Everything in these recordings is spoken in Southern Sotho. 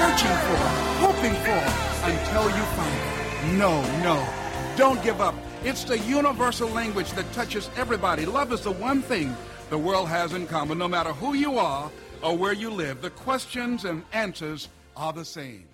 searching for, hoping for, until you find it. No, no, don't give up. It's the universal language that touches everybody. Love is the one thing the world has in common. No matter who you are or where you live, the questions and answers are the same.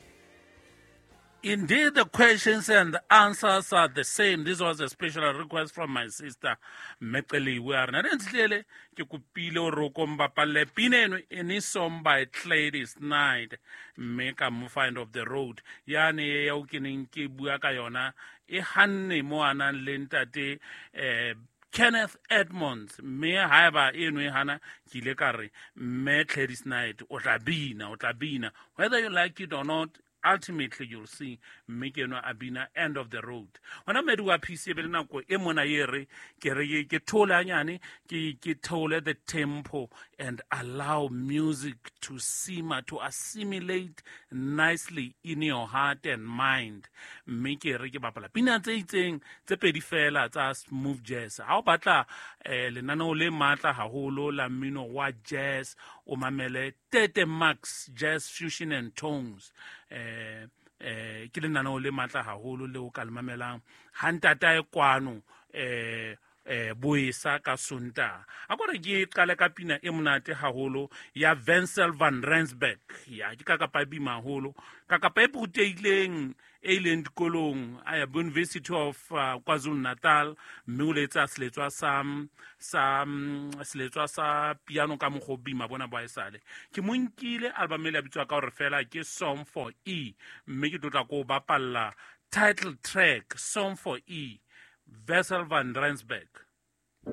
Indeed, the questions and the answers are the same. This was a special request from my sister, Mekeliwe. A re, "Nna ntlele ke kopile hore o ko mbapalle pina eno e ne song by Gladys Knight, mme ka mo find of the road. Yane eo ke neng ke bua ka yona e hanne mo a nang le ntate Kenneth Edmonds, mme haeba eno e hana, ke ile ka re mme Gladys Knight o tla bina, o tla bina whether you like it or not. Ultimately you'll see mme ke enwa a bina End of the Road. Hona mmedi wa PC e be le nako e mona ye re ke re ke theole hanyane, ke theole the tempo and allow music to simmer, to assimilate nicely in your heart and mind. Mme ke re ke bapala pina tse itseng tse pedi fela tsa smooth jazz. Ha o batla lenaneo le matla haholo la mmino wa jazz, o mamele Tete Max Jazz Fusion and Tones. Ke lenaneo le matla haholo le o ka le mamelang ha ntatae kwano boesa ka Sontaha. A ko re ke qale ka pina e monate haholo ya Wessel van Rensburg. Ya ke kakapa e bima haholo, kakapa e rutehileng e ileng dikolong a ya University of KwaZulu Natal, mme o letsa seletswa sa, sa, seletswa sa piano ka mokgwa o bima bona bo haesale. Ke mo nkile album e le ya bitswa ka hore fela ke Song for E, mme ke tlotla ko bapalla title track Song for E, Wessel van Rensburg.